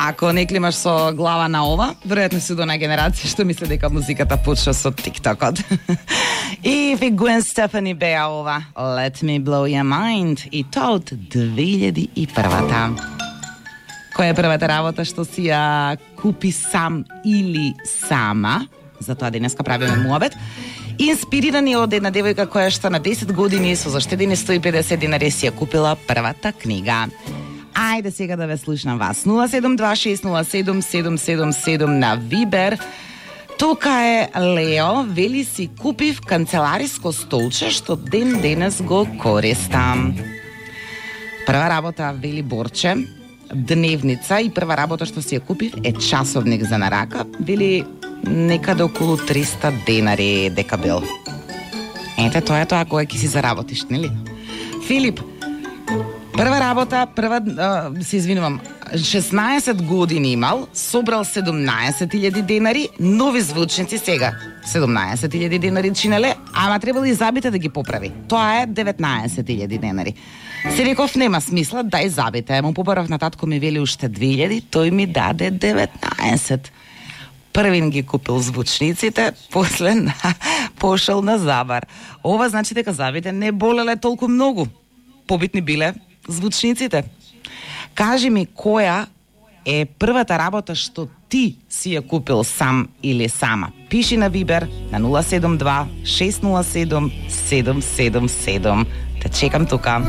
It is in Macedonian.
Ако не климаш со глава на ова, веројатно си до на генерација што мисли дека музиката почва со TikTokот. И Gwen Stefani беа ова Let Me Blow Your Mind и тоа од 2001-та. Која е првата работа што си ја купи сам или сама? Затоа денеска правиме муабет. Инспирирани од една девојка која што на 10 години со заштедени 150 денари си ја купила првата книга. Ајде сега да ве слушнам вас. 072607777 на Вибер. Тука е Лео, вели си купив канцелариско столче што ден денес го користам. Прва работа, вели Борче, дневница и прва работа што си ја купив е часовник за на рака, вели некаде околу 300 денари дека бил. Ете, тоа е тоа кога ќе си заработиш, нели? Филип, прва работа, се извинувам, 16 години имал, собрал 17.000 денари, нови звучници сега. 17.000 денари чинеле, ама требало и забите да ги поправи. Тоа е 19.000 денари. Се реков, нема смисла, дај забите. Му побарав на татко, ми вели уште 2.000, тој ми даде 19. Првин ги купил звучниците, после пошел на забар. Ова значи дека забите не болеле толку многу. Побитни биле звучниците. Кажи ми, која е првата работа што ти си ја купил сам или сама? Пиши на Вибер на 072 607 777. Те чекам тука.